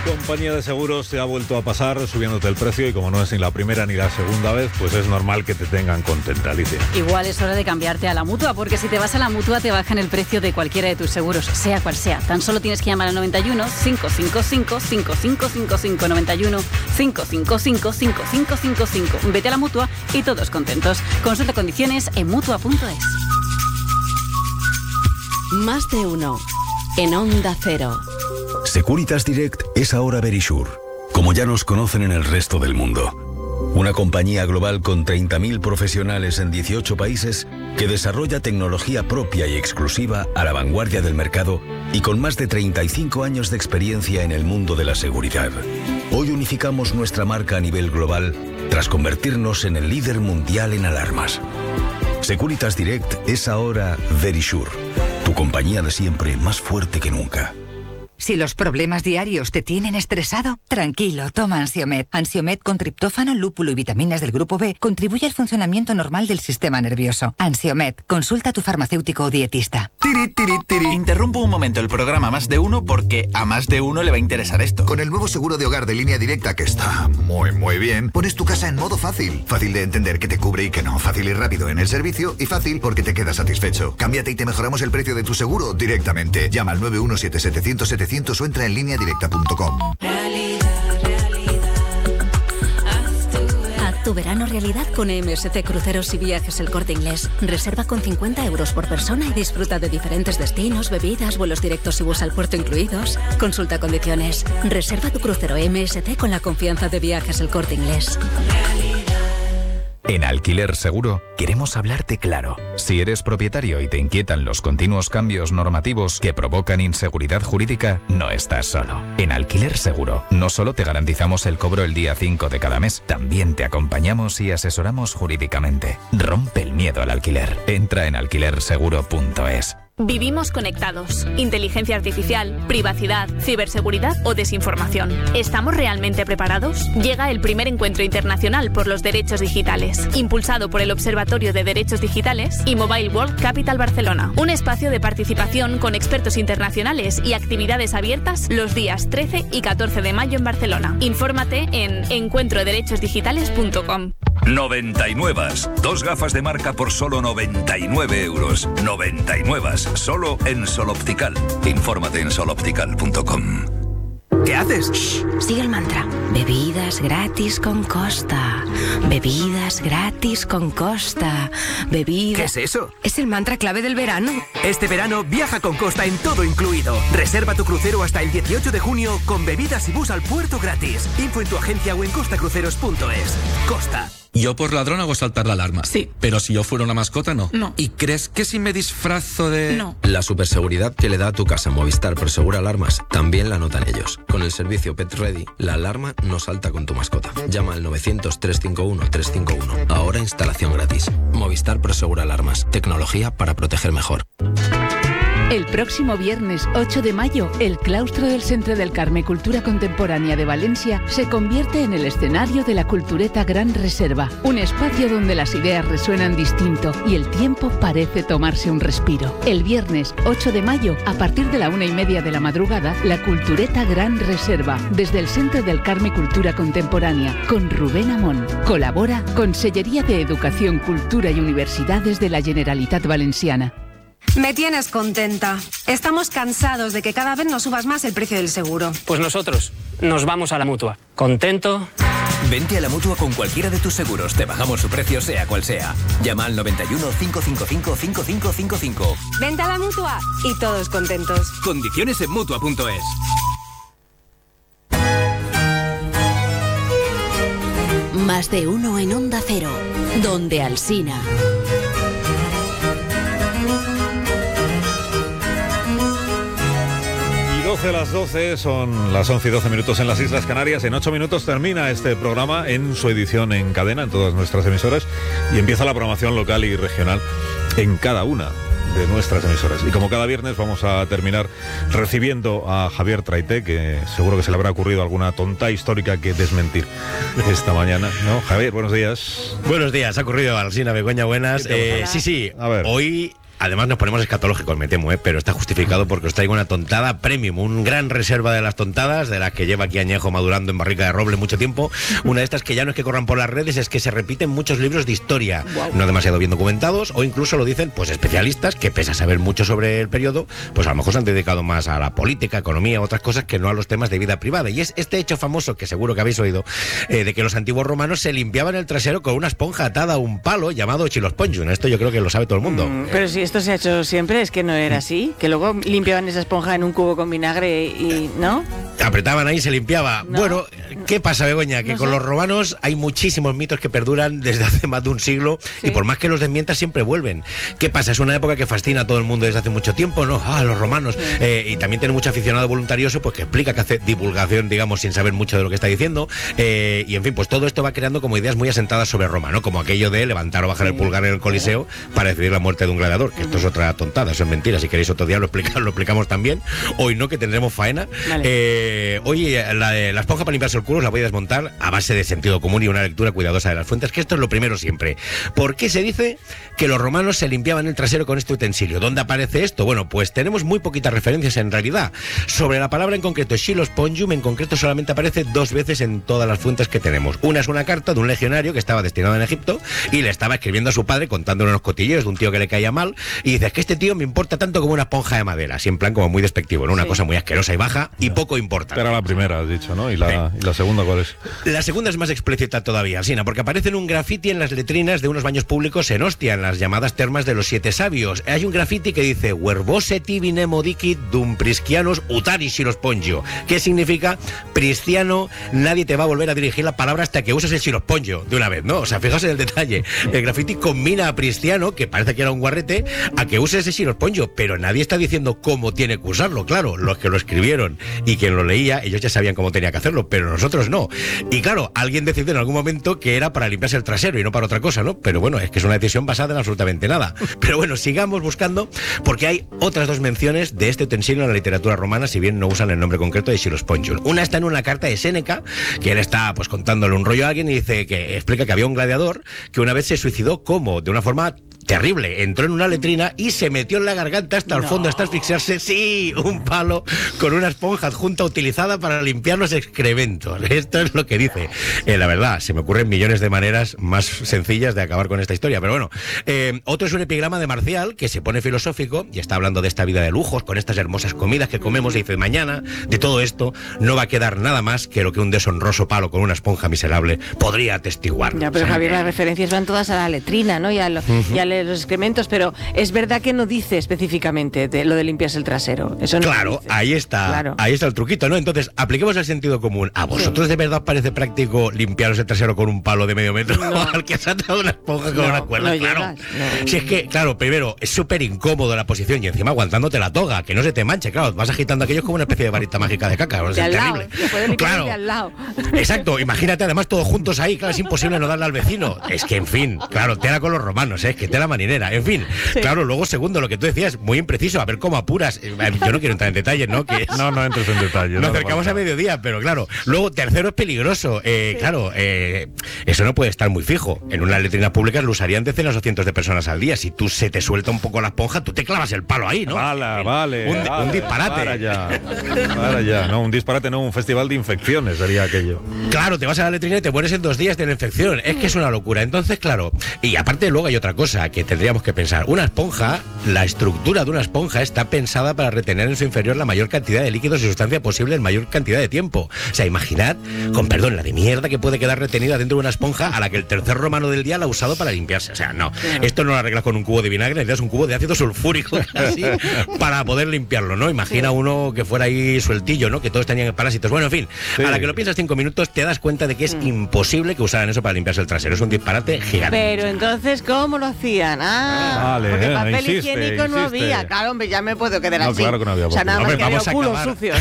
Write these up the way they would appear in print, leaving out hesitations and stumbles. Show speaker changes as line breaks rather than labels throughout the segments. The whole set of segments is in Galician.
Compañía de seguros te ha vuelto a pasar subiéndote el precio y como no es ni la primera ni la segunda vez, pues es normal que te tengan contenta, Alicia.
Igual es hora de cambiarte a la Mutua, porque si te vas a la Mutua te bajan el precio de cualquiera de tus seguros, sea cual sea. Tan solo tienes que llamar al 91 555 5555 91 555 5555. Vete a la Mutua y todos contentos. Consulta condiciones en Mutua.es.
Más de uno en Onda Cero.
Securitas Direct es ahora Verisure, como ya nos conocen en el resto del mundo. Una compañía global con 30.000 profesionales en 18 países que desarrolla tecnología propia y exclusiva a la vanguardia del mercado y con más de 35 años de experiencia en el mundo de la seguridad. Hoy unificamos nuestra marca a nivel global tras convertirnos en el líder mundial en alarmas. Securitas Direct es ahora Verisure, tu compañía de siempre más fuerte que nunca.
Si los problemas diarios te tienen estresado, tranquilo, toma Ansiomed. Ansiomed con triptófano, lúpulo y vitaminas del grupo B contribuye al funcionamiento normal del sistema nervioso. Ansiomed, consulta a tu farmacéutico o dietista.
Interrumpo un momento el programa Más de Uno porque a más de uno le va a interesar esto.
Con el nuevo seguro de hogar de Línea Directa, que está muy bien, pones tu casa en modo fácil. Fácil de entender que te cubre y que no. Fácil y rápido en el servicio y fácil porque te quedas satisfecho. Cámbiate y te mejoramos el precio de tu seguro directamente. Llama al 917-700-700 o entra en lineadirecta.com.
Haz tu verano realidad con MSC Cruceros y Viajes El Corte Inglés. Reserva con 50 euros por persona y disfruta de diferentes destinos, bebidas, vuelos directos y bus al puerto incluidos. Consulta condiciones. Reserva tu crucero MSC con la confianza de Viajes El Corte Inglés.
En Alquiler Seguro queremos hablarte claro. Si eres propietario y te inquietan los continuos cambios normativos que provocan inseguridad jurídica, no estás solo. En Alquiler Seguro no solo te garantizamos el cobro el día 5 de cada mes, también te acompañamos y asesoramos jurídicamente. Rompe el miedo al alquiler. Entra en alquilerseguro.es.
Vivimos conectados. Inteligencia artificial, privacidad, ciberseguridad o desinformación. ¿Estamos realmente preparados? Llega el primer encuentro internacional por los derechos digitales, impulsado por el Observatorio de Derechos Digitales y Mobile World Capital Barcelona. Un espacio de participación con expertos internacionales y actividades abiertas los días 13 y 14 de mayo en Barcelona. Infórmate en encuentroderechosdigitales.com.
99. Dos gafas de marca por solo 99 euros. 99. Solo en Sol Optical. Infórmate en soloptical.com.
¿Qué haces?
Shh, sigue el mantra. Bebidas gratis con Costa. Bebidas gratis con Costa. Bebidas...
¿Qué es eso?
Es el mantra clave del verano.
Este verano viaja con Costa en todo incluido. Reserva tu crucero hasta el 18 de junio con bebidas y bus al puerto gratis. Info en tu agencia o en costacruceros.es. Costa.
Yo por ladrón hago saltar la alarma.
Sí.
Pero si yo fuera una mascota, no.
No.
¿Y crees que si me disfrazo de...?
No.
La superseguridad que le da a tu casa Movistar Prosegura Alarmas también la notan ellos. Con el servicio Pet Ready, la alarma no salta con tu mascota. Llama al 900-351-351. Ahora instalación gratis. Movistar Prosegura Alarmas. Tecnología para proteger mejor.
El próximo viernes 8 de mayo, el claustro del Centre del Carme Cultura Contemporánea de Valencia se convierte en el escenario de la Cultureta Gran Reserva, un espacio donde las ideas resuenan distinto y el tiempo parece tomarse un respiro. El viernes 8 de mayo, a partir de la 1:30 de la madrugada, la Cultureta Gran Reserva, desde el Centre del Carme Cultura Contemporánea, con Rubén Amón. Colabora Consellería de Educación, Cultura y Universidades de la Generalitat Valenciana.
Me tienes contenta. Estamos cansados de que cada vez nos subas más el precio del seguro.
Pues nosotros nos vamos a la Mutua. ¿Contento?
Vente a la Mutua con cualquiera de tus seguros. Te bajamos su precio sea cual sea. Llama al 91 555 5555.
Vente a la Mutua y todos contentos.
Condiciones en Mutua.es.
Más de uno en Onda Cero, donde Alsina.
Las 12 son las 11 y 12 minutos en las Islas Canarias. En 8 minutos termina este programa en su edición en cadena, en todas nuestras emisoras, y empieza la programación local y regional en cada una de nuestras emisoras. Y como cada viernes vamos a terminar recibiendo a Javier Traité, que seguro que se le habrá ocurrido alguna tonta histórica que desmentir esta mañana, ¿no? Javier, buenos días.
Buenos días, ha ocurrido Alsina Begoña, buenas. Sí, a ver. Hoy
además nos ponemos escatológicos, me temo, pero está justificado porque os traigo una tontada premium, un gran reserva de las tontadas, de las que lleva aquí añejo madurando en barrica de roble mucho tiempo. Una de estas que ya no es que corran por las redes, es que se repiten muchos libros de historia, no demasiado bien documentados, o incluso lo dicen pues especialistas que, pese a saber mucho sobre el periodo, pues a lo mejor se han dedicado más a la política, economía, otras cosas que no a los temas de vida privada. Y es este hecho famoso, que seguro que habéis oído, de que los antiguos romanos se limpiaban el trasero con una esponja atada a un palo llamado chilospongium. Esto yo creo que lo sabe todo el mundo.
Pero si esto se ha hecho siempre, es que no era así, que luego limpiaban esa esponja en un cubo con vinagre y ¿no?
Apretaban ahí y se limpiaba. No. Bueno, ¿qué pasa, Begoña? Que no con los romanos hay muchísimos mitos que perduran desde hace más de un siglo, y por más que los desmientas siempre vuelven. ¿Qué pasa? Es una época que fascina a todo el mundo desde hace mucho tiempo, ¿no? Los romanos. Y también tiene mucho aficionado voluntarioso pues que explica, que hace divulgación, digamos, sin saber mucho de lo que está diciendo. Y en fin, pues todo esto va creando como ideas muy asentadas sobre Roma, ¿no? Como aquello de levantar o bajar el pulgar en el Coliseo para decidir la muerte de un gladiador, que esto es otra tontada, eso es mentira. Si queréis otro día lo explicamos también. Hoy no, que tendremos faena. Vale. Hoy la esponja para limpiarse el culo os la voy a desmontar a base de sentido común y una lectura cuidadosa de las fuentes, que esto es lo primero siempre. ¿Por qué se dice que los romanos se limpiaban el trasero con este utensilio? ¿Dónde aparece esto? Bueno, pues tenemos muy poquitas referencias en realidad. Sobre la palabra en concreto, chilospongium, en concreto solamente aparece 2 veces en todas las fuentes que tenemos. Una es una carta de un legionario que estaba destinado en Egipto y le estaba escribiendo a su padre contándole unos cotilleos de un tío que le caía mal, y dice: es que este tío me importa tanto como una esponja de madera, así en plan como muy despectivo, ¿no? Una cosa muy asquerosa y baja y poco importante.
Era la primera, has dicho, ¿no? ¿Y la segunda cuál es?
La segunda es más explícita todavía, Sina, porque aparece en un grafiti en las letrinas de unos baños públicos en Ostia, en las llamadas termas de los 7 sabios. Hay un grafiti que dice: Verbose tibi nemo dicit dum priscianos utari chilospongio. ¿Qué significa? Prisciano, nadie te va a volver a dirigir la palabra hasta que uses el chilospongio de una vez, ¿no? O sea, fijaos en el detalle. El grafiti combina a Prisciano, que parece que era un guarrete, a que use ese chilospongio, pero nadie está diciendo cómo tiene que usarlo. Claro, los que lo escribieron y quien lo leía, ellos ya sabían cómo tenía que hacerlo, pero nosotros no. Y claro, alguien decidió en algún momento que era para limpiarse el trasero y no para otra cosa, ¿no? Pero bueno, es que es una decisión basada en absolutamente nada. Pero bueno, sigamos buscando, porque hay otras 2 menciones de este utensilio en la literatura romana, si bien no usan el nombre concreto de chilospongium. Una está en una carta de Séneca, que él está pues contándole un rollo a alguien y dice que explica que había un gladiador que una vez se suicidó de una forma terrible. Entró en una letrina y se metió en la garganta hasta el fondo, hasta asfixiarse. Sí, un palo con una esponja adjunta utilizada para limpiar los excrementos. Esto es lo que dice. La verdad, se me ocurren millones de maneras más sencillas de acabar con esta historia, pero bueno. Otro es un epigrama de Marcial, que se pone filosófico y está hablando de esta vida de lujos, con estas hermosas comidas que comemos, y dice: mañana de todo esto no va a quedar nada más que lo que un deshonroso palo con una esponja miserable podría atestiguar.
Ya, pero Javier, las referencias van todas a la letrina, ¿no? Y a los excrementos, pero es verdad que no dice específicamente lo de limpiarse el trasero. Eso no.
Claro, ahí está el truquito, ¿no? Entonces, apliquemos el sentido común. ¿A vosotros de verdad parece práctico limpiaros el trasero con un palo de medio metro? No. Al que has atado una esponja con una cuerda, claro. Si es que, claro, primero, es súper incómodo la posición y encima aguantándote la toga, que no se te manche, claro, vas agitando aquello como una especie de varita mágica de caca. Es terrible.
Claro. De al lado.
Exacto, imagínate además todos juntos ahí, claro, es imposible no darle al vecino. Es que, en fin, claro, tela con los romanos, es que tela marinera, en fin. Sí. Claro, luego segundo, lo que tú decías, muy impreciso, a ver cómo apuras. Yo no quiero entrar en detalles, ¿no? Que
no entres en detalles.
Nos acercamos a mediodía, pero claro. Luego, tercero, es peligroso. Claro, eso no puede estar muy fijo. En unas letrinas públicas lo usarían decenas o cientos de personas al día. Si tú se te suelta un poco la esponja, tú te clavas el palo ahí, ¿no?
Vale.
Un disparate.
Para ya. No, un disparate, no, un festival de infecciones sería aquello.
Claro, te vas a la letrina y te mueres en 2 días de la infección. Es que es una locura. Entonces, claro, y aparte luego hay otra cosa que tendríamos que pensar. Una esponja, la estructura de una esponja está pensada para retener en su inferior la mayor cantidad de líquidos y sustancia posible en mayor cantidad de tiempo. O sea, imaginad, con perdón, la de mierda que puede quedar retenida dentro de una esponja a la que el tercer romano del día la ha usado para limpiarse. O sea, no. Esto no lo arreglas con un cubo de vinagre, necesitas un cubo de ácido sulfúrico así para poder limpiarlo, ¿no? Imagina uno que fuera ahí sueltillo, ¿no? Que todos tenían parásitos. Bueno, en fin, a la que lo piensas 5 minutos te das cuenta de que es imposible que usaran eso para limpiarse el trasero. Es un disparate gigante.
Pero entonces, ¿cómo lo hacían? Porque papel higiénico no había. Claro, hombre, ya me puedo quedar así.
Claro que no había.
O sea, nada más que había culos sucios.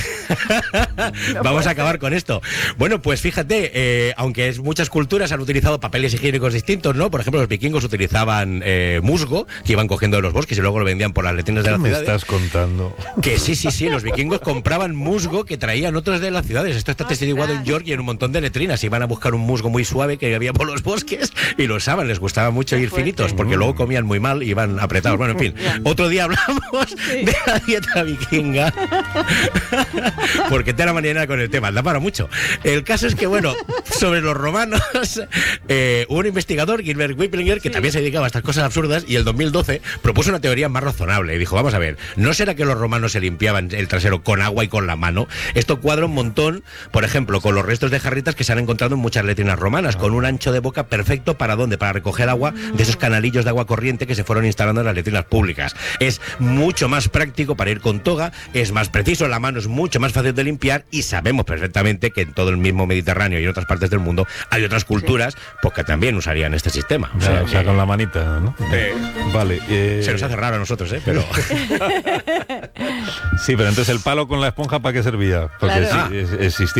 Vamos a acabar con esto. Bueno, pues fíjate, aunque muchas culturas han utilizado papeles higiénicos distintos, ¿no? Por ejemplo, los vikingos utilizaban musgo, que iban cogiendo de los bosques y luego lo vendían por las letrinas de las ciudades.
¿Qué me estás contando?
Que sí, los vikingos compraban musgo que traían otros de las ciudades. Esto está testiguado en York y en un montón de letrinas. Iban a buscar un musgo muy suave que había por los bosques y lo usaban. Les gustaba mucho ir finitos porque luego comían muy mal y iban apretados. Bueno, en fin, otro día hablamos de la dieta vikinga porque te la mañana con el tema, da para mucho. El caso es que, bueno, sobre los romanos, un investigador, Gilbert Wiplinger, que también se dedicaba a estas cosas absurdas, y el 2012 propuso una teoría más razonable y dijo, vamos a ver, ¿no será que los romanos se limpiaban el trasero con agua y con la mano? Esto cuadra un montón, por ejemplo, con los restos de jarritas que se han encontrado en muchas letrinas romanas, con un ancho de boca perfecto ¿para dónde? Para recoger agua de esos canalillos de agua corriente que se fueron instalando en las letrinas públicas. Es mucho más práctico para ir con toga, es más preciso, la mano es mucho más fácil de limpiar y sabemos perfectamente que en todo el mismo Mediterráneo y en otras partes del mundo hay otras culturas pues que también usarían este sistema.
O sea, con la manita, ¿no? Vale.
Se nos hace raro a nosotros, pero...
Sí, pero entonces el palo con la esponja, ¿para qué servía? Porque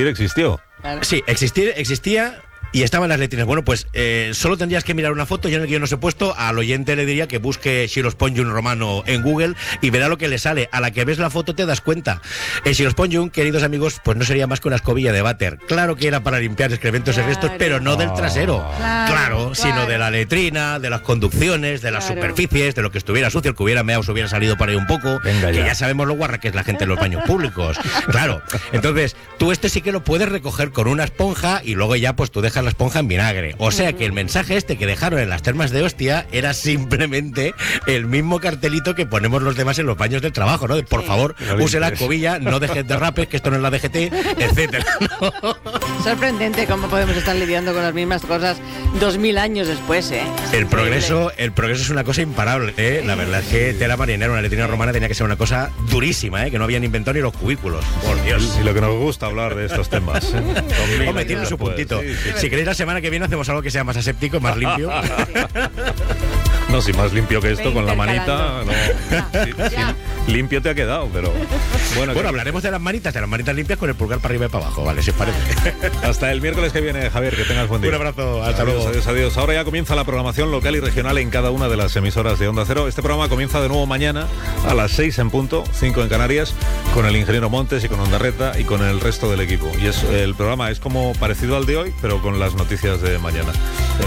existió.
Sí, existía... Y estaban las letrinas. Bueno, pues solo tendrías que mirar una foto. Yo en el guión os he puesto, al oyente le diría que busque Scilospongum romano en Google y verá lo que le sale. A la que ves la foto te das cuenta. El Scilospongum, queridos amigos, pues no sería más que una escobilla de váter. Claro que era para limpiar excrementos y restos, pero no del trasero. Claro, sino de la letrina, de las conducciones, de las superficies, de lo que estuviera sucio, el que hubiera meado se hubiera salido por ahí un poco.
Venga,
que ya sabemos lo guarra que es la gente en los baños públicos. Claro. Entonces, tú sí que lo puedes recoger con una esponja y luego ya pues tú dejas la esponja en vinagre. O sea que el mensaje que dejaron en las termas de Ostia era simplemente el mismo cartelito que ponemos los demás en los baños del trabajo, ¿no? De, por favor, use la escobilla, no dejes derrapes, que esto no es la DGT, etcétera, ¿no?
Sorprendente cómo podemos estar lidiando con las mismas cosas 2000 años después, ¿eh?
El progreso es una cosa imparable, ¿eh? La verdad es que tela marinera, una letrina romana tenía que ser una cosa durísima, ¿eh? Que no habían inventado ni los cubículos. Por Dios.
Y lo que nos gusta hablar de estos temas, ¿eh?
Hombre, tiene su puntito. Sí. Si queréis la semana que viene hacemos algo que sea más aséptico, más limpio.
No, si más limpio que esto, con la manita, no. Limpio te ha quedado, pero...
Bueno, hablaremos de las manitas limpias con el pulgar para arriba y para abajo, ¿vale? Si os parece.
Hasta el miércoles que viene, Javier, que tengas buen día.
Un abrazo, hasta luego.
Adiós. Ahora ya comienza la programación local y regional en cada una de las emisoras de Onda Cero. Este programa comienza de nuevo mañana a las 6 en punto, 5 en Canarias, con el ingeniero Montes y con Ondarreta y con el resto del equipo. Y el programa es como parecido al de hoy, pero con las noticias de mañana.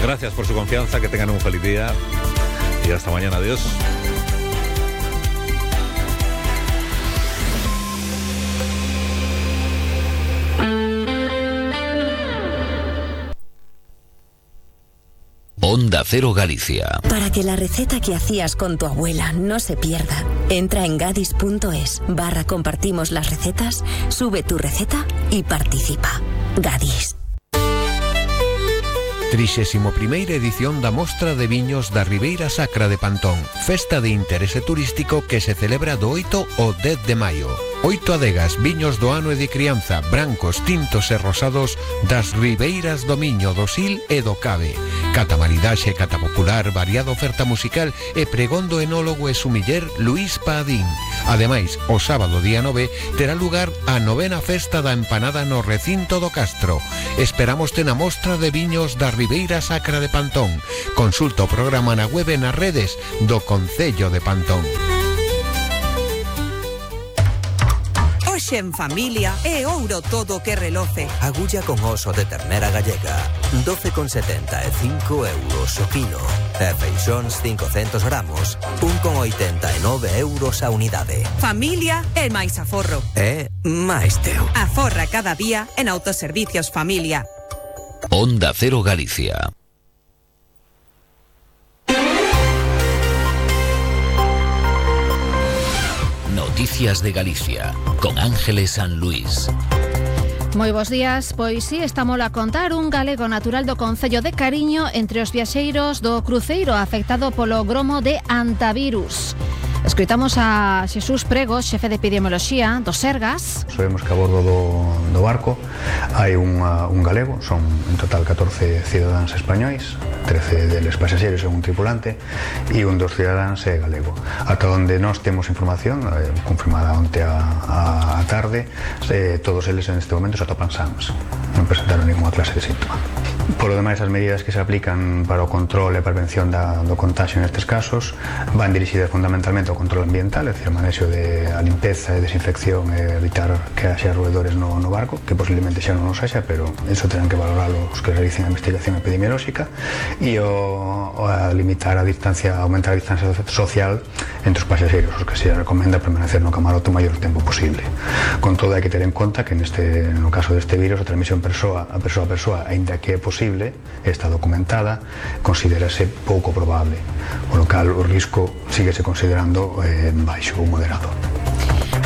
Gracias por su confianza, que tengan un feliz día y hasta mañana. Adiós.
Onda Cero Galicia.
Para que la receta que hacías con tu abuela no se pierda, entra en gadis.es/compartimos las recetas, sube tu receta y participa. Gadis.
31ª edición da Mostra de Viños da Ribeira Sacra de Pantón, festa de interese turístico que se celebra do 8 ao 10 de maio. 8 adegas, viños do ano e de crianza, brancos, tintos e rosados das ribeiras do Miño, do Sil e do Cabe. Cata maridaxe, cata popular, variada oferta musical e pregón do enólogo e sumiller Luís Padín. Ademais, o sábado día 9 terá lugar a 9ª festa da empanada no recinto do Castro. Esperámoste na Mostra de Viños da Ribeira Sacra de Pantón. Consulta o programa na web e nas redes do Concello de Pantón.
Hoxe en familia é ouro todo que reloce.
Agulla con oso de ternera gallega, 12,75 euros o kilo. E feixóns 500 gramos, 1,89 euros a unidade.
Familia é máis aforro.
É máis teu.
Aforra cada día en Autoservicios Familia.
Onda Cero Galicia. Noticias de Galicia, con Ángeles San Luis.
Moi bons días, pois si, estamos a contar un galego natural do Concello de Cariño entre os viaxeiros do cruceiro afectado polo gromo de Antavirus. Escoitamos a Xesús Pregos, xefe de epidemioloxía do Sergas.
Sabemos que a bordo do barco hai un galego, son en total 14 cidadáns españois, 13 deles pasaxeros e un tripulante, e un dos cidadáns é galego. Ata onde nós temos información, confirmada onte a tarde, todos eles en este momento se atopan sans, non presentaron ninguna clase de síntoma. Por lo demais, as medidas que se aplican para o control e prevención do contagio nestes casos van dirixidas fundamentalmente ao control ambiental, é dicir, o manexo a limpeza e desinfección e evitar que haxa roedores no barco, que posiblemente xa non os haxa, pero eso terán que valoralo os que realicen a investigación epidemiolóxica, e a limitar a distancia, aumentar a distancia social entre os pasaxeiros, os que se recomenda permanecer no camarote o maior tempo posible. Con todo, hai que ter en conta que no caso deste virus, a transmisión a persoa, aínda que é posible, está documentada, considérase pouco probable, o local o risco síguese considerando baixo ou moderado.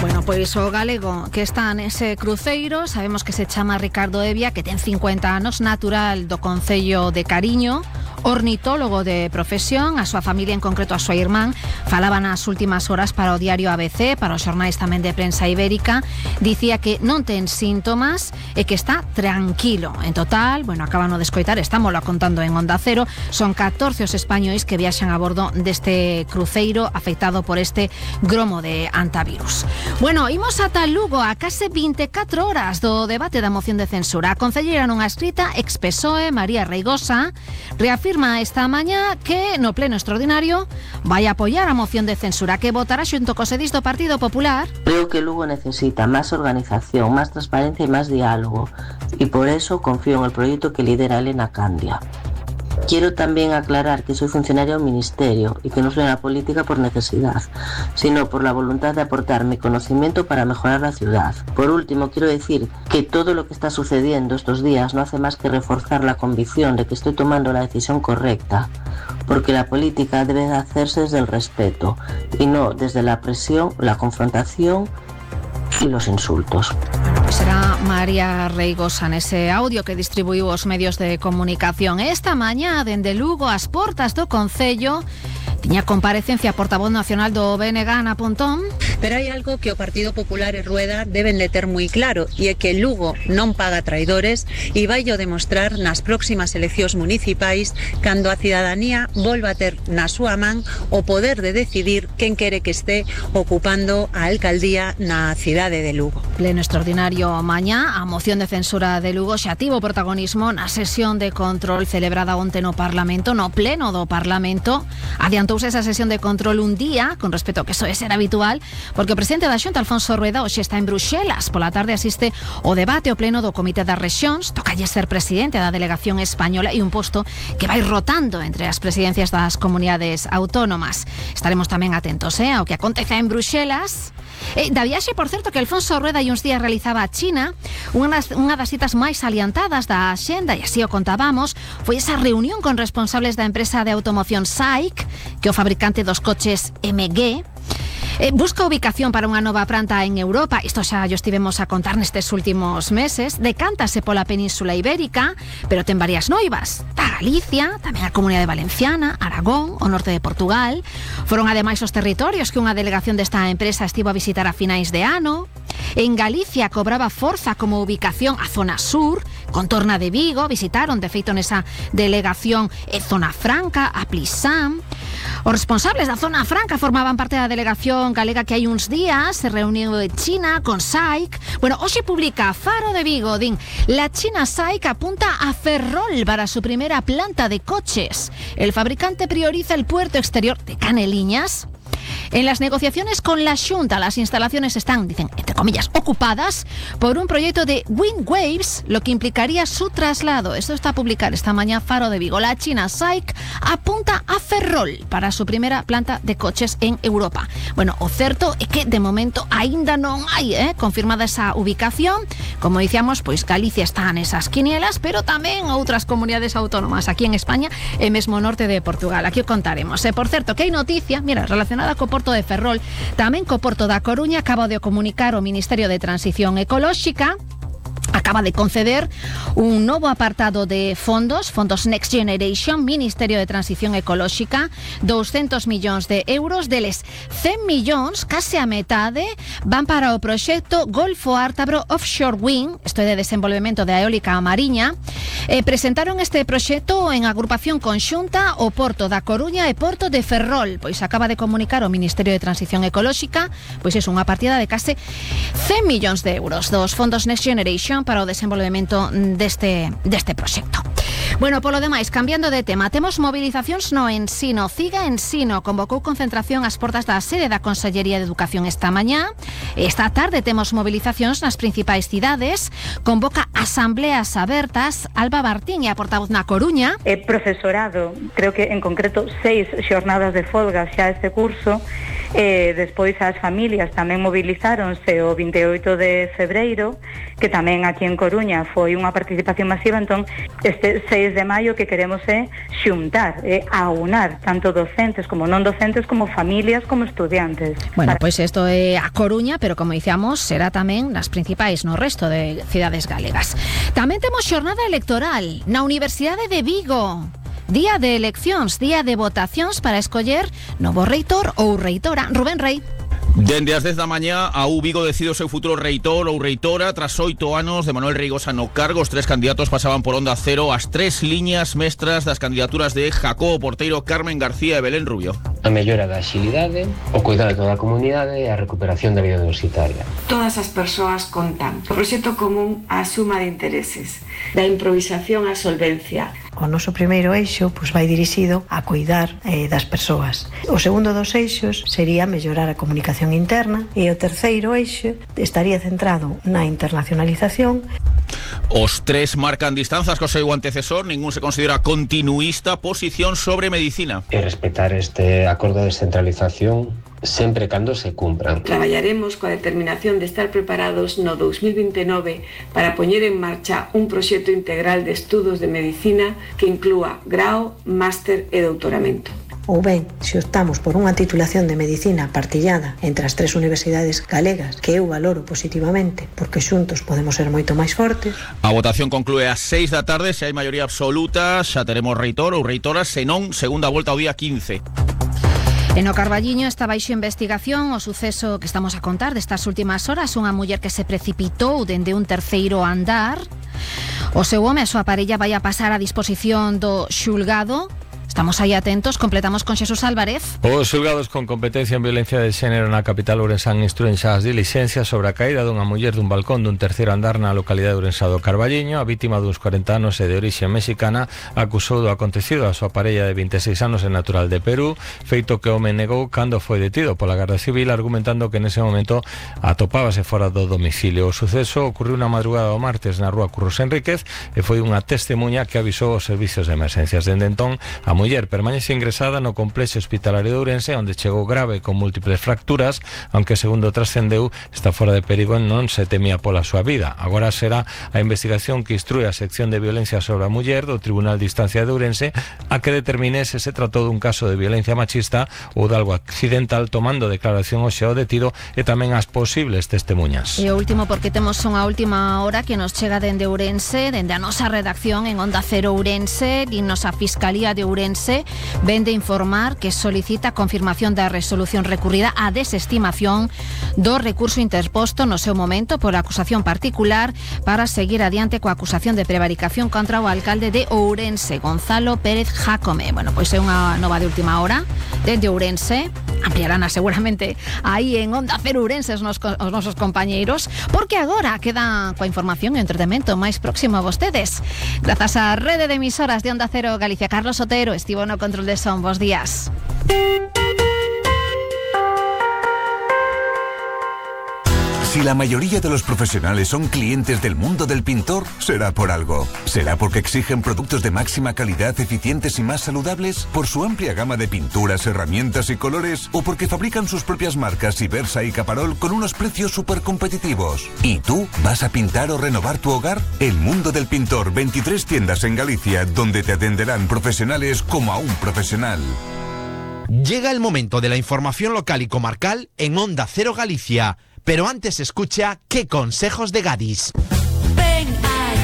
Bueno, pois o galego que está nese cruceiro, sabemos que se chama Ricardo Evia, que ten 50 anos, natural do concello de Cariño, ornitólogo de profesión, a súa familia, en concreto a súa irmán, falaba nas últimas horas para o diario ABC, para os xornais tamén de prensa ibérica, dicía que non ten síntomas e que está tranquilo. En total, bueno, acaban de escoitar, estámoslo contando en Onda Cero, son 14 os españois que viaxan a bordo deste cruceiro afectado por este gromo de antivirus. Bueno, imos ata Lugo a case 24 horas do debate da moción de censura. A concelleira nunha escrita ex-PSOE, María Reigosa, reafirma esta mañá que no pleno extraordinario vai apoiar a moción de censura que votará xunto co sedis do Partido Popular.
Creo que Lugo necesita más organización, más transparencia y más diálogo, y por eso confío en el proyecto que lidera Elena Candia. Quiero también aclarar que soy funcionaria del Ministerio y que no soy en la política por necesidad, sino por la voluntad de aportar mi conocimiento para mejorar la ciudad. Por último, quiero decir que todo lo que está sucediendo estos días no hace más que reforzar la convicción de que estoy tomando la decisión correcta, porque la política debe hacerse desde el respeto y no desde la presión, la confrontación y los insultos.
Será María Reigosa nese audio que distribuiu os medios de comunicación. Esta mañá, dende Lugo, ás portas do Concello, tiña comparecencia a portavoz nacional do BNG, Ana Pontón.
Pero hai algo que o Partido Popular e Rueda deben de ter moi claro, e é que Lugo non paga traidores e vai o demostrar nas próximas eleccións municipais cando a cidadanía volva a ter na súa man o poder de decidir quen quere que este ocupando a alcaldía na cidade de Lugo.
Pleno extraordinario mañá, a moción de censura de Lugo xa tivo protagonismo na sesión de control celebrada onte no Parlamento, no pleno do Parlamento. Adiantouse esa sesión de control un día, con respecto ao que soe ser habitual, porque o presidente da Xunta, Alfonso Rueda, hoxe está en Bruxelas. Pola tarde asiste o debate ao pleno do Comité das Rexións, tocalle ser presidente da delegación española e un posto que vai rotando entre as presidencias das comunidades autónomas. Estaremos tamén atentos ao que acontece en Bruxelas. Da viaxe, por certo, que Alfonso Rueda hai uns días realizaba a China, unha das citas máis salientadas da axenda, e así o contábamos, foi esa reunión con responsables da empresa de automoción SAIC, que é o fabricante dos coches MG. Busca ubicación para unha nova planta en Europa. Isto xa yo estivemos a contar nestes últimos meses. Decántase pola Península Ibérica, pero ten varias noivas. Está Galicia, tamén a Comunidade Valenciana, Aragón, o norte de Portugal. Foron ademais os territorios que unha delegación desta empresa estivo a visitar a finais de ano. En Galicia cobraba forza como ubicación a zona sur, contorna de Vigo. Visitaron, de feito, nesa delegación Zona Franca, a Plisán. Os responsables da Zona Franca formaban parte da delegación galega que hai uns días se reuniu en China con SAIC. Bueno, hoxe publica Faro de Vigo, din, la China SAIC apunta a Ferrol para su primera planta de coches. El fabricante prioriza el puerto exterior de Caneliñas. En las negociaciones con la Xunta, las instalaciones están, dicen, entre comillas, ocupadas por un proyecto de Wind Waves, lo que implicaría su traslado. Esto está a publicar esta mañana Faro de Vigo. La China SAIC apunta a Ferrol para su primera planta de coches en Europa. Bueno, o certo é que de momento aínda non hai confirmada esa ubicación. Como dicíamos, pois Galicia está nesas quinielas, pero tamén outras comunidades autónomas aquí en España e mesmo norte de Portugal. Aquí o contaremos. Por certo, que hai noticia, mira, relacionada co porto de Ferrol, tamén co porto da Coruña. Acaba de comunicar o Ministerio de Transición Ecolóxica acaba de conceder un novo apartado de fondos Next Generation, Ministerio de Transición Ecolóxica, 200 millóns de euros, deles 100 millóns, case a metade, van para o proxecto Golfo Ártabro Offshore Wind, isto é de desenvolvemento de eólica mariña. Presentaron este proxecto en agrupación conxunta o Porto da Coruña e Porto de Ferrol, pois acaba de comunicar o Ministerio de Transición Ecolóxica, pois é unha partida de case 100 millóns de euros dos fondos Next Generation para o desenvolvemento deste proxecto. Bueno, polo demais, cambiando de tema, temos movilizacións no Ensino. Ciga Ensino convocou concentración ás portas da sede da Consellería de Educación esta mañá. Esta tarde temos movilizacións nas principais cidades. Convoca asambleas abertas. Alba Martín é a portavoz na Coruña.
Profesorado, creo que en concreto 6 xornadas de folga xa este curso. Despois as familias tamén movilizáronse o 28 de febreiro, que tamén aquí en Coruña foi unha participación masiva. Entón, este 6 de maio que queremos é xuntar, aunar tanto docentes como non docentes, como familias, como estudiantes.
Bueno, pois isto é a Coruña, pero como dicíamos, será tamén nas principais no resto de cidades galegas. Tamén temos xornada electoral na Universidade de Vigo. Día de eleccións, día de votacións para escoller novo reitor ou reitora. Rubén Rey.
Dende as 10 da mañá, a Vigo decide o seu futuro reitor ou reitora. Tras 8 anos de Manuel Reigosa no cargo, os 3 candidatos pasaban por Onda Cero as 3 liñas mestras das candidaturas de Jacobo Porteiro, Carmen García e Belén Rubio.
A mellora da axilidade, o cuidado de toda a comunidade e a recuperación da vida universitaria.
Todas as persoas contan. O proxecto común á suma de intereses, da improvisación á solvencia.
O noso primeiro eixo vai dirixido a cuidar das persoas. O segundo dos eixos sería mellorar a comunicación interna e o terceiro eixo estaría centrado na internacionalización.
Os 3 marcan distanzas co seu antecesor, ningún se considera continuista. Posición sobre medicina.
E respetar este acordo de descentralización sempre cando se cumpran.
Traballaremos coa determinación de estar preparados no 2029 para poñer en marcha un proxecto integral de estudos de medicina que inclúa grao, máster e doutoramento.
Ou ben, se optamos por unha titulación de medicina partillada entre as 3 universidades galegas, que eu valoro positivamente, porque xuntos podemos ser moito máis fortes.
A votación conclúe ás 6 da tarde. Se hai maioría absoluta, xa teremos reitor ou reitora, senón segunda volta ao día 15.
En o Carballiño está baixo investigación o suceso que estamos a contar destas últimas horas. Unha muller que se precipitou dende un terceiro andar. O seu home e a súa parella vai a pasar a disposición do xulgado. Estamos aí atentos, completamos con Xesús Álvarez.
Os xulgados con competencia en violencia de xénero na capital ourensán instruen xa as dilixencias sobre a caída dunha muller dun balcón dun terceiro andar na localidade de Ourensá do Carballiño. A vítima duns 40 anos e de orixe mexicana acusou do acontecido a súa parella de 26 anos e natural de Perú, feito que o home negou cando foi detido pola Garda Civil, argumentando que nese momento atopábase fora do domicilio. O suceso ocorreu na madrugada do martes na rúa Curros Enríquez e foi unha testemunha que avisou os servicios de emergencias. Dende entón, a muller permanece ingresada no complexo hospitalario de Ourense, onde chegou grave con múltiples fracturas, aunque segundo trascendeu está fora de perigo e non se temía pola súa vida. Agora será a investigación que instrúe a sección de violencia sobre a muller do Tribunal de Instancia de Ourense a que determine se se tratou dun caso de violencia machista ou de algo accidental, tomando declaración hoxe ao detido e tamén as posibles testemunhas.
E o último, porque temos unha última hora que nos chega dende Ourense, dende a nosa redacción en Onda Cero Ourense, e nos a Fiscalía de Ourense ven de informar que solicita confirmación da resolución recurrida a desestimación do recurso interposto no seu momento por acusación particular para seguir adiante coa acusación de prevaricación contra o alcalde de Ourense, Gonzalo Pérez Jácome. Bueno, pois é unha nova de última hora dende Ourense. Ampliarán seguramente aí en Onda Cero Ourense os nosos compañeiros, porque agora queda coa información e entretemento máis próximo a vostedes. Grazas á rede de emisoras de Onda Cero Galicia. Carlos Otero estivo no control de son. Bos días.
Si la mayoría de los profesionales son clientes del mundo del pintor, será por algo. ¿Será porque exigen productos de máxima calidad, eficientes y más saludables? ¿Por su amplia gama de pinturas, herramientas y colores? ¿O porque fabrican sus propias marcas Ibersa y Caparol con unos precios súper competitivos? ¿Y tú vas a pintar o renovar tu hogar? El mundo del pintor, 23 tiendas en Galicia, donde te atenderán profesionales como a un profesional.
Llega el momento de la información local y comarcal en Onda Cero Galicia. Pero antes escucha qué consejos de Gadis.
Ven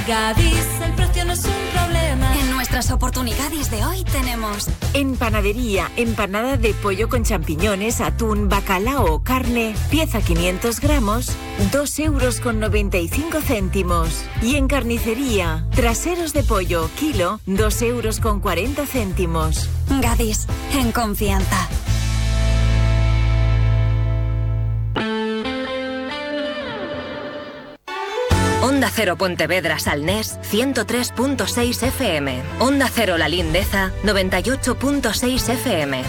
Gadis, el precio no es un problema. En nuestras oportunidades de hoy tenemos...
En panadería, empanada de pollo con champiñones, atún, bacalao o carne, pieza 500 gramos, 2,95 €. Y en carnicería, traseros de pollo, kilo, 2,40 €.
Gadis, en confianza. Onda Cero Pontevedra Salnés 103.6 FM. Onda Cero La Lindeza 98.6 FM.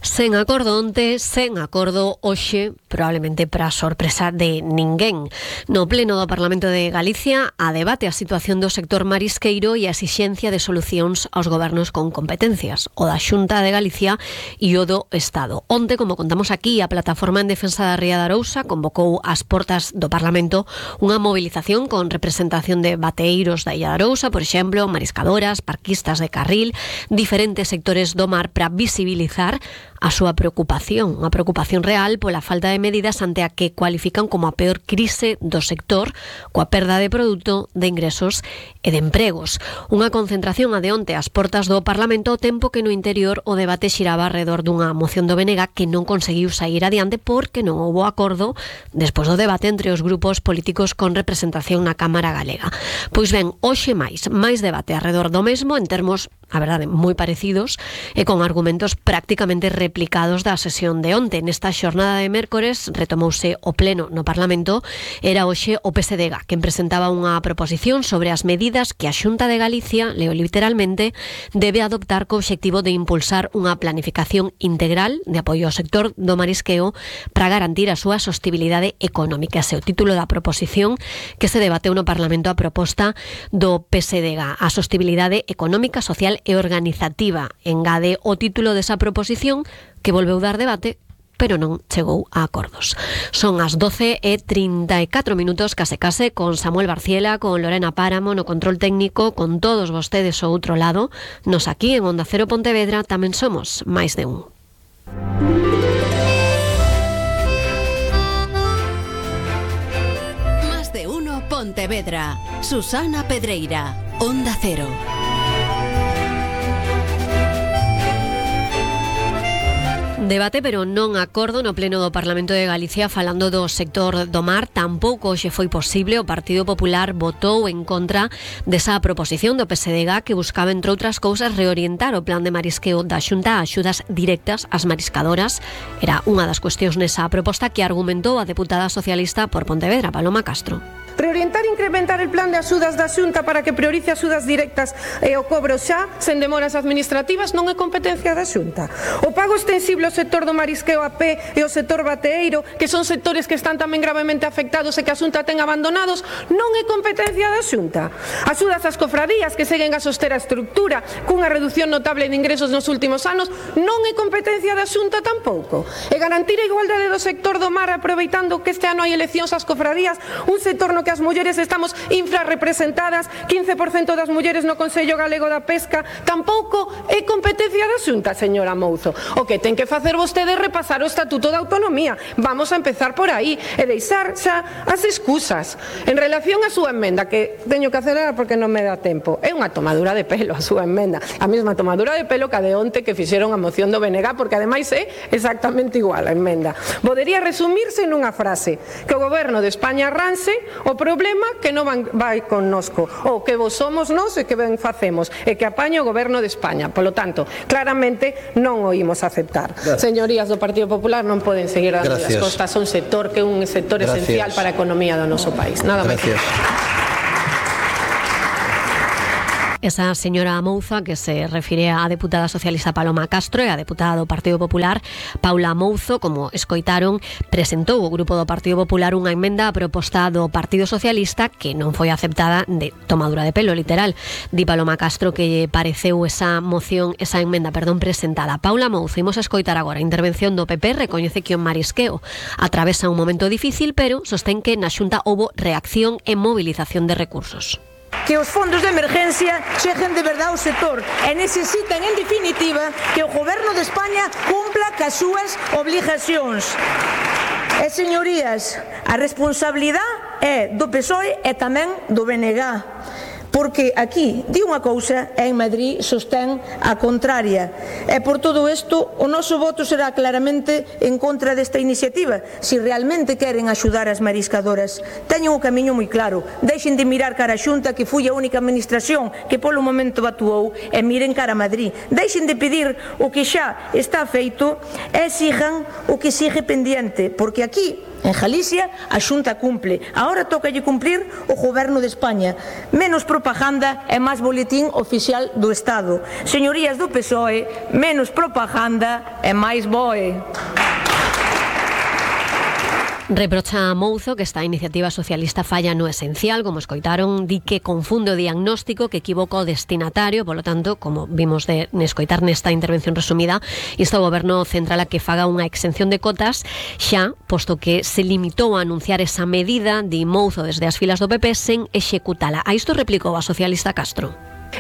Sen acordo onte, sen acordo hoxe, probablemente para sorpresa de ninguén. No pleno do Parlamento de Galicia, a debate a situación do sector marisqueiro e a exixencia de solucións aos gobernos con competencias, o da Xunta de Galicia e o do Estado. Onte, como contamos aquí, a Plataforma en Defensa da Ría de Arousa convocou ás portas do Parlamento unha movilización con representación de bateeiros da Illa de Arousa, por exemplo, mariscadoras, parquistas de carril, diferentes sectores do mar para visibilizar a súa preocupación, unha preocupación real pola falta de medidas ante a que cualifican como a peor crise do sector, coa perda de produto, de ingresos e de empregos. Unha concentración a de onte ás portas do Parlamento, ao tempo que no interior o debate xiraba alrededor dunha moción do BNG que non conseguiu sair adiante porque non houbo acordo despois do debate entre os grupos políticos con representación na Cámara Galega. Pois ben, hoxe máis debate alrededor do mesmo en termos, a verdade, moi parecidos e con argumentos prácticamente replicados da sesión de onte. Nesta xornada de mércores retomouse o pleno no Parlamento. Era hoxe o PSDG quen presentaba unha proposición sobre as medidas que a Xunta de Galicia, leo literalmente, debe adoptar co obxectivo de impulsar unha planificación integral de apoio ao sector do marisqueo para garantir a súa sostibilidade económica. Ese é o título da proposición que se debateu no Parlamento a proposta do PSDG. A sostibilidade económica, social e organizativa. Engade o título desa proposición que volveu dar debate, pero non chegou a acordos. Son as 12:34, case con Samuel Barciela, con Lorena Páramo no control técnico, con todos vostedes ao outro lado. Nos aquí en Onda Cero Pontevedra tamén somos máis de un.
Más de uno Pontevedra. Susana Pedreira, Onda Cero.
Debate, pero non acordo no pleno do Parlamento de Galicia falando do sector do mar. Tampouco hoxe foi posible. O Partido Popular votou en contra desa proposición do PSDG que buscaba, entre outras cousas, reorientar o plan de marisqueo da Xunta a axudas directas ás mariscadoras. Era unha das cuestións nesa proposta que argumentou a deputada socialista por Pontevedra, Paloma Castro.
Reorientar e incrementar el plan de axudas da Xunta para que priorice axudas directas e o cobro xa, sen demoras administrativas, non é competencia da Xunta. O pago extensible ao sector do marisqueo a pé e ao sector bateeiro, que son sectores que están tamén gravemente afectados e que a Xunta ten abandonados, non é competencia da Xunta. Axudas ás cofradías que seguen a soster a estructura cunha reducción notable de ingresos nos últimos anos, non é competencia da Xunta tampouco. E garantir a igualdade do sector do mar aproveitando que este ano hai eleccións ás cofradías, un sector no que as mulleres estamos infrarrepresentadas, 15% das mulleres no Consello Galego da Pesca, tampouco é competencia da Xunta, señora Mouzo. O que ten que facer vostede é repasar o Estatuto da Autonomía. Vamos a empezar por aí e deixar xa as excusas. En relación á súa emenda, que teño que acelerar porque non me dá tempo, é unha tomadura de pelo a súa emenda, a mesma tomadura de pelo que a de onte que fixeron a moción do BNG, porque ademais é exactamente igual a emenda. Podería resumirse nunha frase, que o goberno de España arranse o problema que non vai connosco, ou que vos somos nós e que ben facemos, e que apaña o goberno de España. Polo tanto, claramente non o imos aceptar. Gracias. Señorías do Partido Popular non poden seguir dando as costas a un sector que é un sector esencial para a economía do noso país. Nada máis.
Esa señora Mouza que se refire á deputada socialista Paloma Castro e á deputada do Partido Popular Paula Mouzo, como escoitaron, presentou o grupo do Partido Popular unha emenda a proposta do Partido Socialista que non foi aceptada, de tomadura de pelo, literal. Di Paloma Castro que lle pareceu esa emenda presentada. Paula Mouzo, imos a escoitar agora a intervención do PP, recoñece que o marisqueo atravesa un momento difícil, pero sostén que na Xunta houbo reacción e movilización de recursos.
Que os fondos de emergencia cheguen de verdade ao sector e necesitan, en definitiva, que o Goberno de España cumpla cas súas obligacións. E, señorías, a responsabilidade é do PSOE e tamén do BNG. Porque aquí di unha cousa e en Madrid sostén a contraria. E por todo isto, o noso voto será claramente en contra desta iniciativa. Se realmente queren axudar as mariscadoras, teñen o camiño moi claro. Deixen de mirar cara a Xunta, que foi a única administración que polo momento actuou, e miren cara a Madrid. Deixen de pedir o que xa está feito e sigan o que sigue pendiente, porque aquí en Galicia a Xunta cumple. Ahora tócalle cumplir o Goberno de España. Menos propaganda e máis boletín oficial do Estado. Señorías do PSOE, menos propaganda e máis BOE.
Reprocha a Mouzo que esta iniciativa socialista falla no esencial, como escoitaron, di que confunde o diagnóstico, que equivoca o destinatario, polo tanto, como vimos de escoitar nesta intervención resumida, insta o Goberno central a que faga unha exención de cotas, xa, posto que se limitou a anunciar esa medida, di Mouzo desde as filas do PP, sen executala. A isto replicou a socialista Castro.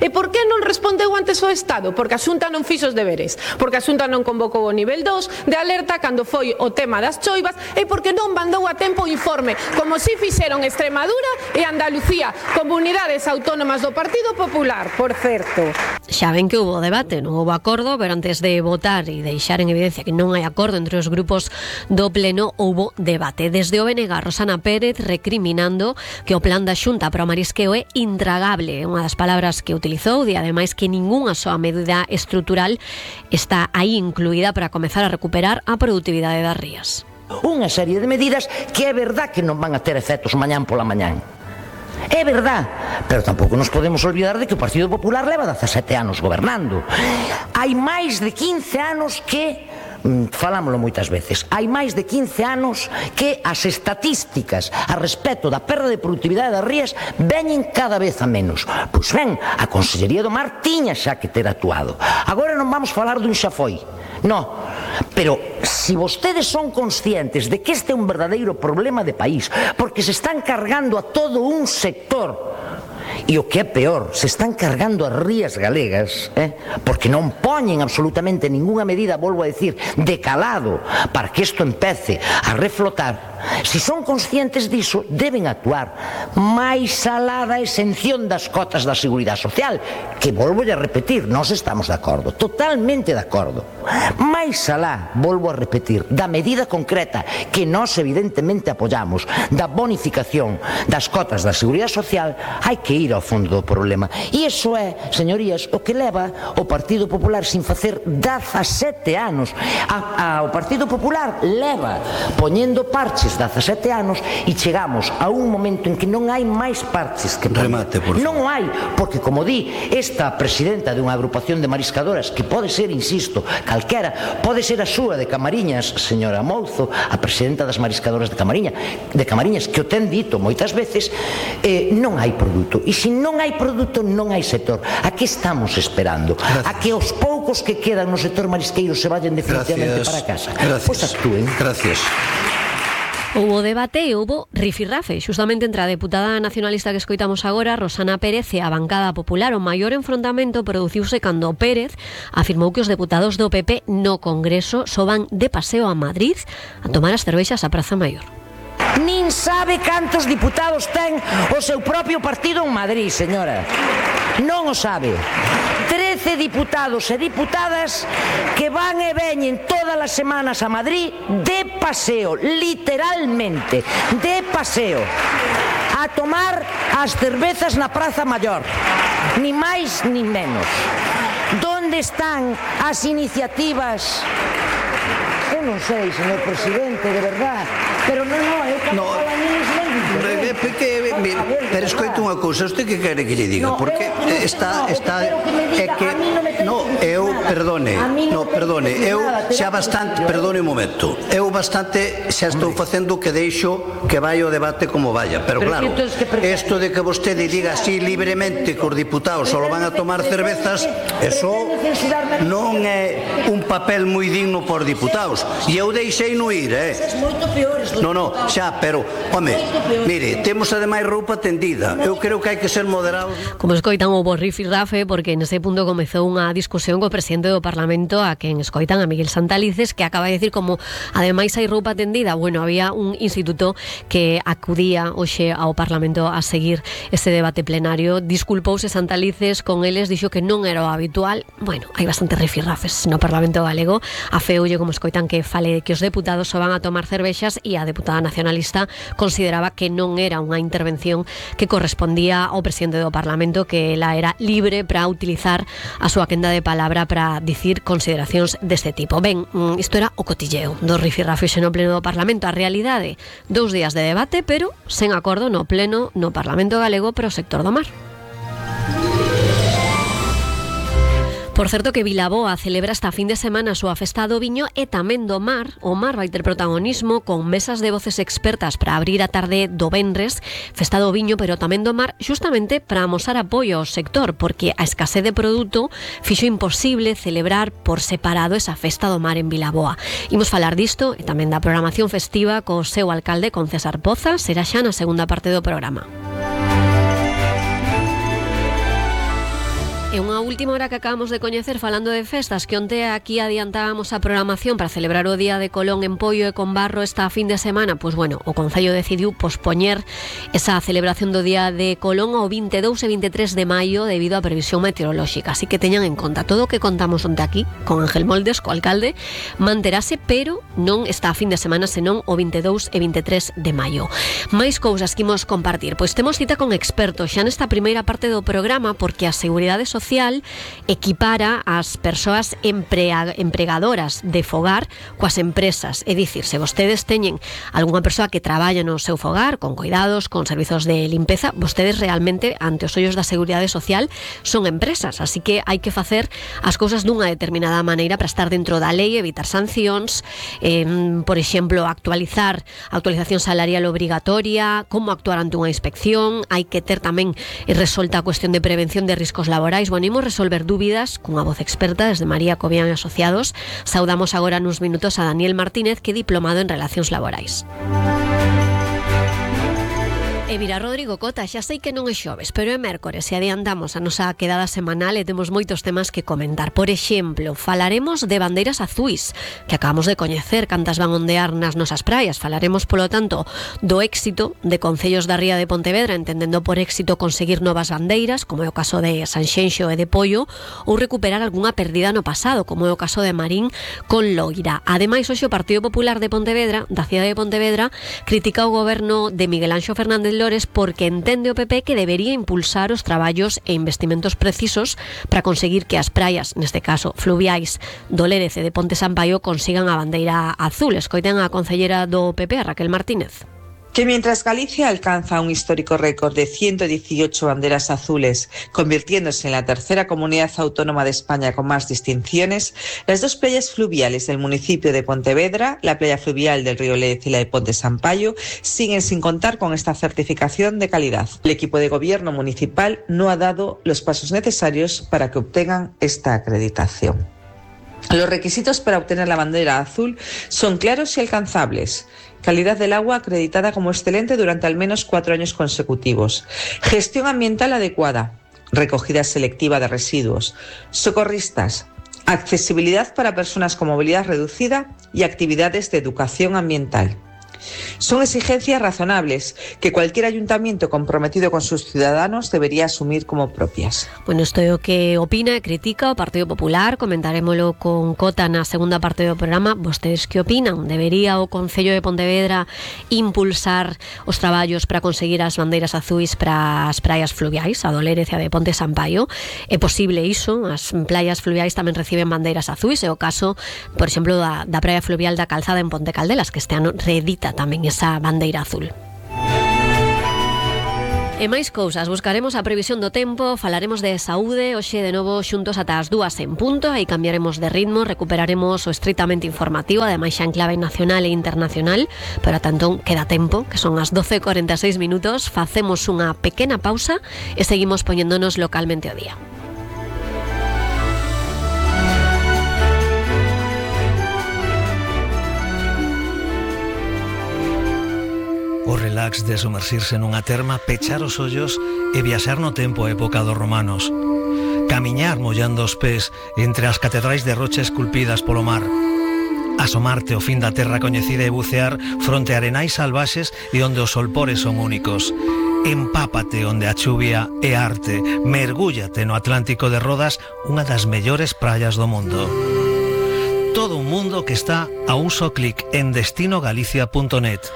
E por que non respondeu antes o Estado? Porque a Xunta non fixo os deberes, porque a Xunta non convocou o nivel 2 de alerta cando foi o tema das choivas, e porque non mandou a tempo o informe, como si fixeron Extremadura e Andalucía, comunidades autónomas do Partido Popular, por certo.
Xa ven que hubo debate, non houve acordo, pero antes de votar e deixar en evidencia que non hai acordo entre os grupos do Pleno, houve debate. Desde o BNG, Rosana Pérez recriminando que o plan da Xunta para o marisqueo é intragable, unha das palabras que utilizou, e ademais que ningunha soa medida estrutural está aí incluída para comezar a recuperar a produtividade das rías.
Unha serie de medidas que é verdad que non van a ter efectos mañán pola mañán. É verdad, pero tampouco nos podemos olvidar de que o Partido Popular leva 17 anos gobernando. Hai máis de 15 anos que falámoslo moitas veces, hai máis de 15 anos que as estatísticas a respecto da perda de produtividade das rías veñen cada vez a menos. Pois ben, a Consellería do Mar tiña xa que ter actuado. Agora non vamos falar dun xa foi, non, pero se vostedes son conscientes de que este é un verdadeiro problema de país, porque se están cargando a todo un sector, e o que é peor, se están cargando as rías galegas, porque non poñen absolutamente ninguna medida, volvo a decir, de calado para que isto empece a reflotar. Se son conscientes diso, deben actuar máis alá da exención das cotas da Seguridade Social, que volvo a repetir, nós estamos de acordo, totalmente de acordo. Máis alá, volvo a repetir, da medida concreta que nós evidentemente apoyamos, da bonificación das cotas da Seguridade Social, hai que ir ao fondo do problema. E iso é, señorías, o que leva o Partido Popular sin facer 17 anos. O Partido Popular leva poñendo parches 17 anos e chegamos a un momento en que non hai máis parches que poñer.
Remate, por favor.
Non hai, porque como di esta presidenta de unha agrupación de mariscadoras, que pode ser, insisto, calquera, pode ser a súa de Camariñas, señora Mouzo, a presidenta das mariscadoras de Camariñas, que o ten dito moitas veces, non hai produto. E se non hai produto, non hai sector. A que estamos esperando?
Gracias.
A que os poucos que quedan no sector marisqueiro se vayan definitivamente para casa. Pois actúen.
Gracias.
Houbo debate e houbo rifirrafe, xustamente entre a deputada nacionalista que escoitamos agora, Rosana Pérez, e a bancada popular. O maior enfrontamento produciuse cando Pérez afirmou que os deputados do PP no Congreso só van de paseo a Madrid a tomar as cervexas á Praza Maior.
Nin sabe cantos diputados ten o seu propio partido en Madrid, señora. Non o sabe. 13 diputados e diputadas que van e veñen todas as semanas a Madrid de paseo, literalmente, de paseo, a tomar as cervezas na Praza Maior, ni máis ni menos. Donde están as iniciativas? Eu non sei, señor presidente, de verdad, pero non, eu cando falo a mí
pero escoito unha cousa, usted que quere que lle diga? Porque está é que eu perdone, eu xa bastante, perdone un momento, eu bastante xa estou facendo que deixo que vai o debate como vaya, pero claro, isto de que vostede diga así libremente que os diputados só van a tomar cervezas, eso non é un papel moi digno por diputados, e eu deixei no ir, Non, xa, pero, home, mire, temos ademais roupa tendida. querida, eu creo que hai que ser moderado.
Como escoitan o rifirrafe, porque nese punto comezou unha discusión co presidente do Parlamento, a quen escoitan, a Miguel Santalices, que acaba de decir como ademais hai roupa tendida. Bueno, había un instituto que acudía hoxe ao Parlamento a seguir ese debate plenario. Disculpouse Santalices con eles, dixo que non era o habitual. Bueno, hai bastante rifirrafes no Parlamento galego. A feulle, como escoitan, que fale que os deputados só van a tomar cervexas, e a deputada nacionalista consideraba que non era unha intervención que correspondía ao presidente do Parlamento, que ela era libre para utilizar a súa quenda de palabra para dicir consideracións deste tipo. Ben, isto era o cotilleo do rifirrafe no pleno do Parlamento. A realidade, 2 días de debate, pero sen acordo no pleno no Parlamento galego para o sector do mar. Por certo que Vilaboa celebra esta fin de semana a súa festa do viño e tamén do mar. O mar vai ter protagonismo con mesas de voces expertas para abrir a tarde do venres, festa do viño, pero tamén do mar, justamente para amosar apoio ao sector, porque a escasez de produto fixo imposible celebrar por separado esa festa do mar en Vilaboa. Imos falar disto e tamén da programación festiva co seu alcalde, con César Poza. Será xa na segunda parte do programa. E unha última hora que acabamos de coñecer falando de festas, que onte aquí adiantábamos a programación para celebrar o Día de Colón en Poio e con Barro esta fin de semana. Pois bueno, o Concello decidiu pospoñer esa celebración do Día de Colón ao 22 e 23 de maio debido á previsión meteorolóxica. Así que teñan en conta todo o que contamos onte aquí con Ángel Moldes, co alcalde, manterase, pero non esta fin de semana, senón o 22 e 23 de maio. Máis cousas que imos compartir. Pois temos cita con expertos xa nesta primeira parte do programa, porque a Seguridade Social equipara as persoas empregadoras de fogar coas empresas. É dicir, se vostedes teñen algunha persoa que traballa no seu fogar, con cuidados, con servizos de limpeza, vostedes realmente, ante os ollos da Seguridade Social, son empresas. Así que hai que facer as cousas dunha determinada maneira para estar dentro da lei, evitar sancións, por exemplo, actualización salarial obrigatoria, como actuar ante unha inspección. Hai que ter tamén resolta a cuestión de prevención de riscos laborais. Bueno, imos resolver dúbidas cunha voz experta desde María Cobian e Asociados. Saudamos agora nuns minutos a Daniel Martínez, que é diplomado en Relacións Laborais. E vira Rodrigo Cota, xa sei que non é xoves, pero é mércores e adiantamos a nosa quedada semanal e temos moitos temas que comentar. Por exemplo, falaremos de bandeiras azuis, que acabamos de coñecer cantas van ondear nas nosas praias. Falaremos, polo tanto, do éxito de concellos da ría de Pontevedra, entendendo por éxito conseguir novas bandeiras, como é o caso de Sanxenxo e de Poio, ou recuperar algunha perdida no pasado, como é o caso de Marín con Loira. Ademais, hoxe o Partido Popular de Pontevedra, da cidade de Pontevedra, critica o goberno de Miguel Anxo Fernández Lores porque entende o PP que debería impulsar os traballos e investimentos precisos para conseguir que as praias, neste caso fluviais do Lérez e de Ponte Sampaio, consigan a bandeira azul. Escoiten a concellera do PP, a Raquel Martínez.
Que mientras Galicia alcanza un histórico récord de 118 banderas azules, convirtiéndose en la tercera comunidad autónoma de España con más distinciones, las dos playas fluviales del municipio de Pontevedra, la playa fluvial del río Lérez y la de Ponte Sampaio, siguen sin contar con esta certificación de calidad. El equipo de gobierno municipal no ha dado los pasos necesarios para que obtengan esta acreditación. Los requisitos para obtener la bandera azul son claros y alcanzables. Calidad del agua acreditada como excelente durante al menos 4 años consecutivos. Gestión ambiental adecuada. Recogida selectiva de residuos. Socorristas. Accesibilidad para personas con movilidad reducida y actividades de educación ambiental. Son exigencias razonables que cualquier ayuntamiento comprometido con sus ciudadanos debería asumir como propias.
Bueno, isto é o que opina e critica o Partido Popular. Comentaremoslo con Cota na segunda parte do programa. Vostedes que opinan? Debería o Concello de Pontevedra impulsar os traballos para conseguir as bandeiras azuis para as praias fluviais, a do Lérez e a de Ponte Sampaio? É posible iso? As playas fluviais tamén reciben bandeiras azuis. É o caso, por exemplo, da praia fluvial da Calzada en Ponte Caldelas, que este ano reedita tamén esa bandeira azul. E máis cousas, buscaremos a previsión do tempo, falaremos de saúde, hoxe de novo xuntos ata as 2 en punto, aí cambiaremos de ritmo, recuperaremos o estritamente informativo, ademais xa en clave nacional e internacional, pero ata entón queda tempo, que son as 12:46 minutos, facemos unha pequena pausa e seguimos poñéndonos localmente o día.
O relax de sumersirse nunha terma, pechar os ollos e viaxar no tempo a época dos romanos. Camiñar mollando os pés entre as catedrais de rocha esculpidas polo mar. Asomarte ao fin da terra coñecida e bucear fronte a arenais salvaxes e onde os solpores son únicos. Empápate onde a chuvia é arte. Mergúllate no Atlántico de Rodas, unha das mellores praias do mundo. Todo un mundo que está a un só clic en destinogalicia.net.